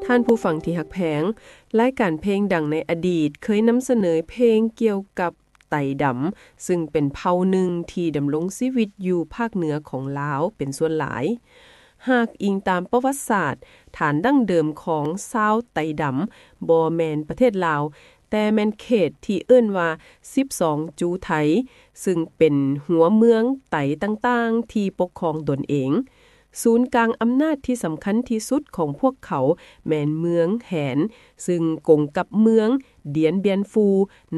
ທ່ານຜູ້ຟັງທີ່ຮັກແພງ, ລາຍການເພງດັງໃນອະດີດເຄີຍນຳສະເໜີເພງກ່ຽວກັບໄຕດຳ, ຊຶ່ງເປັນເຜົ່າໜຶ່ງທີ່ດຳລົງຊີວິດຢູ່ພາກເໜືອຂອງລາວເປັນສ່ວນຫຼາຍ. ຫາກອີງຕາມປະຫວັດສາດ, ຖານດັ້ງເດີມຂອງຊາວໄຕດຳບໍ່ແມ່ນປະເທດລາວ, ແຕ່ແມ່ນເຂດທີ່ເອີ້ນວ່າສິບສອງຈູໄທ, ຊຶ່ງເປັນຫົວເມືອງໄຕຕ່າງໆທີ່ປົກຄອງຕົນເອງ. ສູນກາງອຳນາດທີ່ສຳຄັນທີ່ສຸດຂອງພວກເຂົາແມ່ນເມືອງແຮນ, ຊຶ່ງກົງກັບເມືອງດຽນບຽນຟູ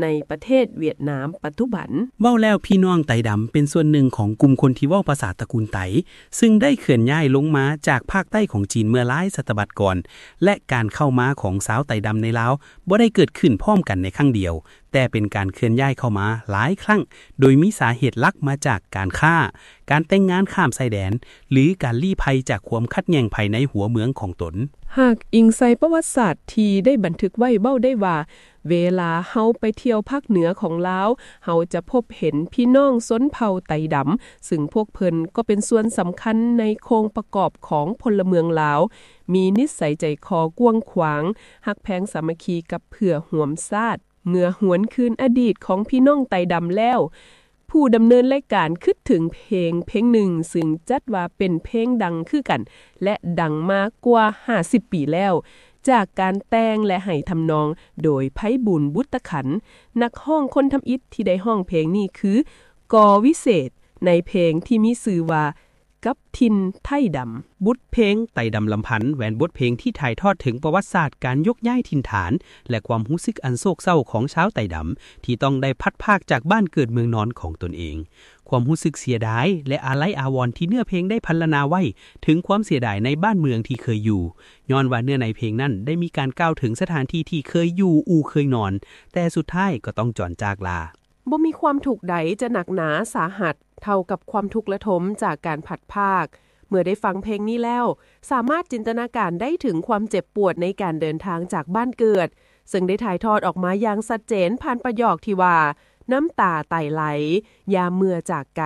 ໃນປະເທດຫວຽດນາມປັດຈຸບັນ. ເວົ້າແລ້ວ, ພີ່ນ້ອງໄຕດຳເປັນສ່ວນໜຶ່ງຂອງກຸ່ມຄົນທີ່ເວົ້າພາສາຕະກູນໄຕ, ຊຶ່ງໄດ້ເຄື່ອນຍ້າຍລົງມາຈາກພາກໃຕ້ຂອງຈີນເມື່ອຫຼາຍສະຕະວັດກ່ອນ, ແລະ ການເຂົ້າມາຂອງຊາວໄຕດຳໃນລາວບໍ່ໄດ້ເກີດຂຶ້ນພ້ອມກັນໃນຄັ້ງດຽວ, ແຕ່ເປັນການເຄື່ອນຍ້າຍເຂົ້າມາຫຼາຍຄັ້ງ, ໂດຍມີສາເຫດຫຼັກມາຈາກການຄ້າ, ການແຕ່ງງານຂ້າມຊາຍແດນ ຫຼື ການລີ້ໄພຈາກຄວາມຂັດແຍ່ງພາຍໃນຫົວເມືອງຂອງຕົນ. ຫາກອີງໃສ່ປະຫວັດສາດທີ່ໄດ້ບັນທຶກໄວ້ເວົ້າໄດ້ວ່າ, ເວລາເຮົາໄປທ່ຽວພາກເໜືອຂອງລາວ, ເຮົາຈະພົບເຫັນພີ່ນ້ອງຊົນເຜົ່າໄຕດຳ, ຊຶ່ງພວກເພິ່ນກໍເປັນສ່ວນສຳຄັນໃນໂຄງປະກອບຂອງພົນລະເມືອງລາວ, ມີນິດໄສໃຈຄໍກວ້າງຂວາງ, ຮັກແພງສາມັກຄີກັບເພື່ອຮ່ວມຊາດ. ເມື່ອຫວນຄືນອະດີດຂອງພີ່ນ້ອງໄຕດຳແລ້ວ, ຜູ້ດຳເນີນລາຍການຄິດເຖິງເພງເພງໜຶ່ງ, ຊຶ່ງຈັດວ່າເປັນເພງດັງຄືກັນ ແລະ ດັງມາກວ່າຫ້າສິບປີແລ້ວ, ຈາກການແຕ່ງ ແລະ ໃຫ້ທຳນອງໂດຍໄພບູນ ບຸດຕະຂັນ. ນັກຮ້ອງຄົນທຳອິດທີ່ໄດ້ຮ້ອງເພງນີ້ຄື ກໍວິເສດ, ໃນເພງທີ່ມີຊື່ວ່າ ກັບຖິ່ນໄທດຳ. ບົດເພງໄຕດຳລຳພັນ ແມ່ນບົດເພງທີ່ຖ່າຍທອດເຖິງປະຫວັດສາດການຍົກຍ້າຍຖິ່ນຖານ ແລະ ຄວາມຮູ້ສຶກອັນໂສກເສົ້າຂອງຊາວໄຕດຳ ທີ່ຕ້ອງໄດ້ພັດພາກຈາກບ້ານເກີດເມືອງນອນຂອງຕົນເອງ. ຄວາມຮູ້ສຶກເສຍດາຍ ແລະ ອາໄລອາວອນທີ່ເນື້ອເພງໄດ້ພັນລະນາໄວ້ເຖິງຄວາມເສຍດາຍໃນບ້ານເມືອງທີ່ເຄີຍຢູ່, ຍ້ອນວ່າເນື້ອໃນເພງນັ້ນໄດ້ມີການກ່າວເຖິງສະຖານທີ່ທີ່ເຄີຍຢູ່, ອູ່ເຄີຍນອນ, ແຕ່ສຸດທ້າຍກໍຕ້ອງຈອນຈາກລາ. ບໍ່ມີຄວາມທຸກໃດຈະໜັກໜາສາຫັດເທົ່າກັບຄວາມທຸກລະທົມຈາກການພັດພາກ. ເມື່ອໄດ້ຟັງເພງນີ້ແລ້ວ, ສາມາດຈິນຕະນາການໄດ້ເຖິງຄວາມເຈັບປວດໃນການເດີນທາງຈາກບ້ານເກີດ, ເຊິ່ງໄດ້ຖ່າຍທອດອອກມາຢ່າງຊັດເຈນຜ່ານປະໂຫຍກທີ່ວ່າ, ນ້ຳຕາໄຕໄຫຼ, ຢ່າເມື່ອຈາກໄກ.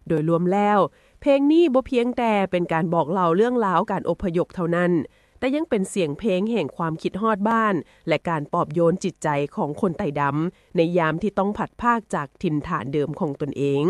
ໂດຍລວມແລ້ວ, ເພງນີ້ບໍ່ພຽງແຕ່ເປັນການບອກເລົ່າເລື່ອງລາວການອົບພະຍົບເທົ່ານັ້ນ, ແຕ່ຍັງເປັນສຽງເພງແຫ່ງຄວາມຄິດຮອດບ້ານ ແລະ ການປອບໂຍນຈິດໃຈຂອງຄົນໄຕດຳ ໃນຍາມທີ່ຕ້ອງພັດພາກຈາກຖິ່ນຖານເດີມຂອງຕົນເອງ.